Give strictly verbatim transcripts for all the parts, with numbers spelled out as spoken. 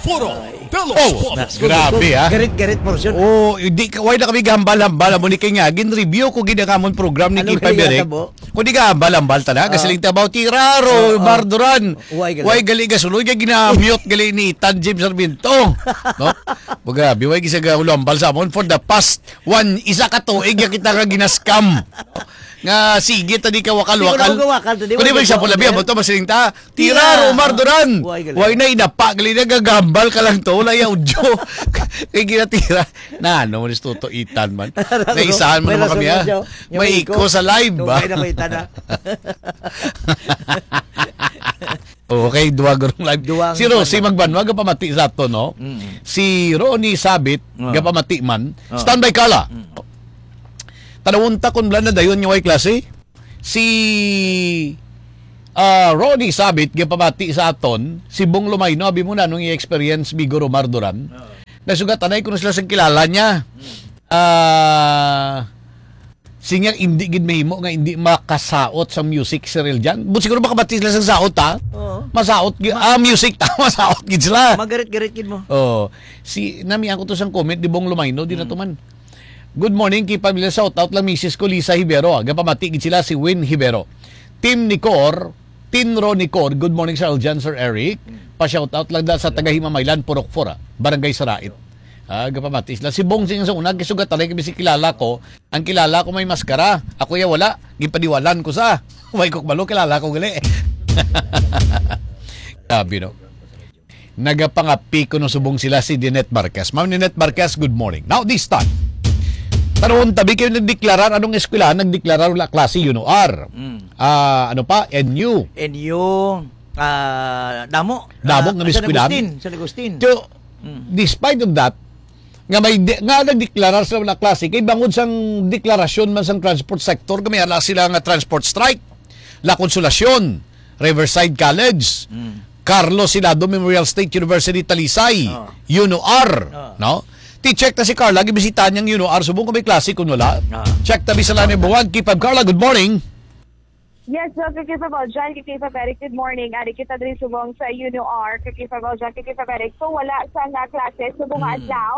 Puro Ay. Pelos Oh, Pop. Nas-, grabe, ah. Garit-garit portion. Oh, hindi ka, why na kami gahambal-hambal? Amo ni kay nga, gin-review ko gid ang amon program ni Ano Kipay kaya Berek. Natabo? Kung di ka hambal-hambal, tana, Ah. kasiling tabaw, tiraro, Oo. barduran. Why gali? Why gali gasuloy? Kaya ginamute gali ni Ethan James Sarmiento. No? Bo, grabe, why gisa ga ulo hambal sa amon for the past one, isa ka tuig, ya kita nga ginaskam. Nga, sige, tadi ka wakal-wakal. Siguro wakal, tadi Kung di mo wakal, example, labi, wakal. Amo to, masiling ta, Tira, Tira. Omar Duran. Way, gali. Way na inapa, gali na gagambal ka lang to. Wala yung audio. Kay ginatira. Na, ano mo, nistuto itan man. Naisahan mo May naman rason kami, na ah. siya. Yung May iko. Iko sa live, Yung ba? Kaya na may tana. Okay, duwa gurong live. Duwa ang Si Rosie Magbanwa, gapamati sa ato, no? Mm. Si Ronnie Sabit, Ah. gapamati man. Ah. Standby, Carla. Mm. Tanawon ta kung wala na dayon yung way klase. Si, ah, Ronnie Sabit, gipamati sa aton, si Bong Lumayno, abi mo na anong i-experience, Bigo Romar Duran. Oo. Nasugat anay kuno sila sa kilala niya. Hmm. Ah, sinya, hindi gid mahimo nga hindi makasaot sa music si Real Jan. But siguro makabati sila sa saot, ha? Oo. Masaot gi-, Ma- ah, music ta, masaot gid sila. Magarit-garit gid mo. Oh, si, nami ako to sang comment, di Bong Lumayno, di na Hmm. to man. Good morning, kay pamilya, shout out lang misis ko, Lisa Hibero, ah. Gapamati gid sila si Win Hibero. Team Nicor, Team Ro Nicor, good morning, Sir Aljan, Sir Eric. Mm. Pa-shout out lang da sa taga Himamaylan, Purok four, ah, Barangay Sarait. Ah, gapamati sila. Si Bong Sing sa una, gisugat talay kami si kilala ko. Ang kilala ko may maskara. Ako ya wala. Gipadiwalan ko sa. Way ko kabalo, kilala ko gali. Grabe, no? Nagapangapi kuno subong sila si Dinette Marquez. Ma'am Dinette Marquez, good morning. Now, this time, tanawon tabi kayo nagdeklarar. Anong eskwelahan nagdeklarar wala klase? UNOR. Mm. Ah, ano pa? NU. NU, ah, damo. Damo Ah, nga San eskwelahan. Agustin, San Agustin. So, Mm. despite of that, nga may de-, nga nagdeklarar sila wala klase, kay bangod sang deklarasyon man sang transport sector, kami ala sila nga transport strike, La Consolacion, Riverside College, Mm. Carlos Sinado Memorial State University, Talisay, Oh. UNOR, Oh. no? Ti-check na si Carla, gibisita niyang UNOR, subong kung may klase, kung wala. Ah. Check tabi sa Lani Buwag, K five Carla, good morning. Yes, Doc, K five Aljan, K five Eric, good morning. Ari kita diri subong sa UNOR, K five Aljan, K five Eric. So, wala sa nga klase, subong nga Mm. adlaw,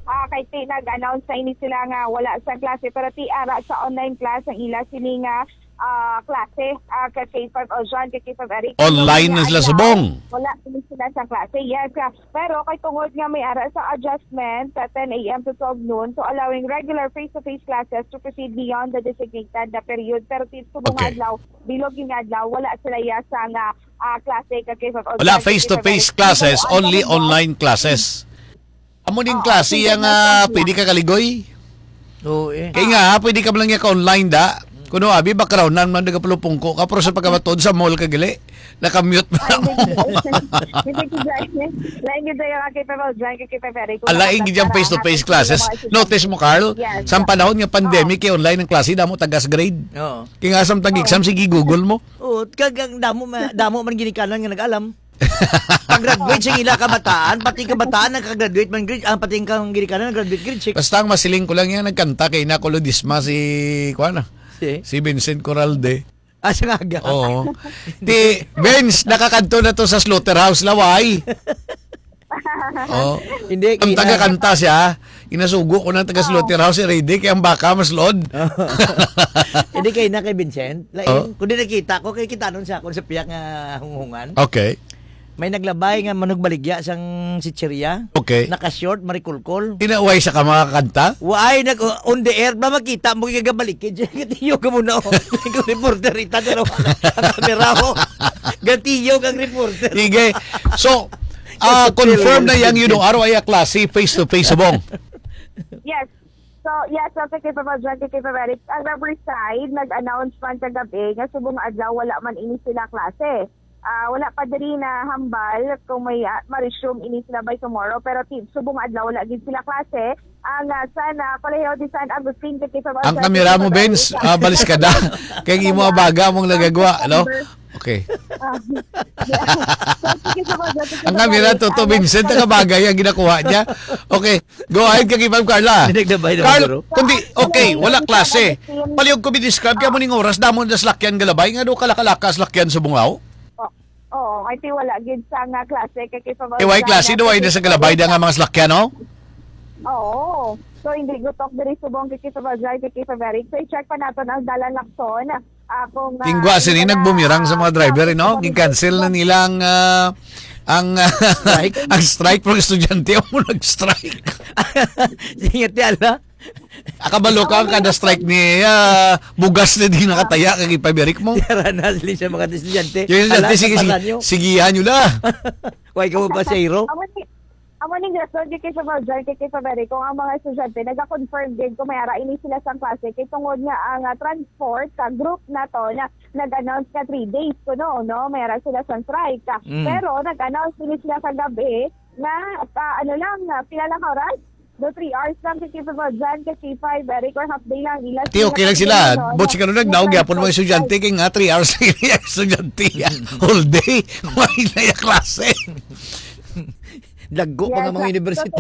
ah, kay ti nag-announce na ini sila nga wala sa klase, pero ti ara sa online class ang ila sini nga ah, klase, ah, ka K five Aljan, ka K five Eric. Online na sila subong. Wala sila sa klase, yes. Ah, pero kay tungod nga may ara sa adjustment sa ten a m to twelve noon, so allowing regular face-to-face classes to proceed beyond the designated na period. Pero ti-, subong nga Okay. adlaw, bilog yung adlaw, wala sila ya sa nga, ah, klase ka K five Aljan, Wala ka K five face-to-face Eric. classes, Ano ang only ano? online classes. Amo ning Oo, klase sige, ang, may ah, pwede ka kaligoy. Oo, eh. Kay nga, pwede ka man lang niya ka-online da. Kuno, abi, background na man nagapalupungko ka, pero sa pagkamatod sa mall ka gali, nakamute mo na mo. Ay, hindi, hindi, hindi, hindi, hindi. Lain gid tayo nga kay Papa John, kay Papa Eric. Ang lain gid yung face-to-face classes. Notice mo, Carl, Yes. sa panahon nga pandemic, Oo. kay online ang klase, damo tagas grade. Oo. Kay nga, samtang Oo. exam, sige, Google mo. Oo, kag ang damo ma-, damo man ginikanan nga nag-alam. Pag-graduate sa ila kabataan, pati kabataan nagka-graduate man grade, ah, pati ang kang ginikanan nag-graduate grade six. Basta ang masiling ko lang yan, nagkanta kay Nacolodisma si, kuwan na, Si? si Vincent Coralde. Ah, sa nga aga. Oo. Ti, Vince, nakakadto na to sa slaughterhouse, Laway. Oh. Hindi, Ang ki-, taga-kanta siya, inasugo ko ng taga Oo. slaughterhouse, ready, kay ang baka mas load. Hindi, kay na kay Vincent. Lain, Oh. kung di nakita ko, kay kita nun siya, kung sa piyak nga hunghungan. Okay. May naglabay nga manugbaligya sang chichirya. Okay. Naka-short, marikulkol. Tinaway sa ka mga kanta? Waay, nag, on the air, ba makita mo yung gabalikid? Tiyo ka muna, oh. Yung reporter, ita, pero ang kamera, oh. Gatiyo kang reporter. Sige. So, ah, Sa confirm na Television. Yang Yuno Araw ay klase face-to-face, subong. Yes. So, yes, so, kay Papa John, kay Papa Eric, ang Riverside, nag-announce man kagabi nga subong adlaw, wala man ini sila klase. Ah, wala pa diri na hambal kung may, ah, ma-resume ini sila by tomorrow, pero ti-, subong adlaw, wala gid sila klase. Ang, ah, San, ah, Colegio de San Agustin, kay Papa Ang John, kamera kay mo, Papa Benz, Eric, ah, baliskada. Kay imo Kaya, abaga mong nagagwa, no? September. Okay. Ah, yeah. So, sige, so, Ang kamera, Toto Vincent, ang bagay ang ginakuha niya. Okay, go ahead, kay Ma'am Carla. Hindi, nagbay naman, Carl, bro. Kundi, okay, wala klase. Palihog ko bi-describe kaya mo ning oras, damo na salakyan galabay, nga do kalakalakas salakyan sa bungaw? Oh, Oo, kay ti wala gid sa nga klase kay kay Eh, way klase do, way na sa galabay da nga mga salakyan, no? Oo. So, hindi gutok diri subong kay Kay February. So, i-check pa naton ang dalan lakson. Akong Tingwa sini nagbumirang sa mga driver, eh, no? Gin-cancel na nilang ah, ang ang strike, pero estudyante ang mo nag-strike. Sige, ti ala. Akabalo ka ang kada strike ni ah, bugas na di nakataya kay pabirik mo. Tara na sila sa mga estudyante. Yung estudyante, Ala, sige, sa sige, pala nyo. sigihan nyo na. Why ka mo pasahero? Amo ni amo ni Gaston kay sa Valjan kay kay February kung ang mga estudyante nagakonfirm gid kung may ara ini sila sang klase kay tungod nga ang ah, transport ka group na to na nag-announce ka three days kuno no may ara sila sang strike. Mm. Pero nag-announce din sila kagabi na ah, ano lang ah, pila lang ka oras? Do three hours lang kay kay Valjan kay K five Eric or half day lang ila. Ti, okay lang sila. But siguro nagdaog gyapon mga estudyante kay nga three hours lang yung estudyante. Whole day. Wala na yung klase. Dagko pa nga mga university.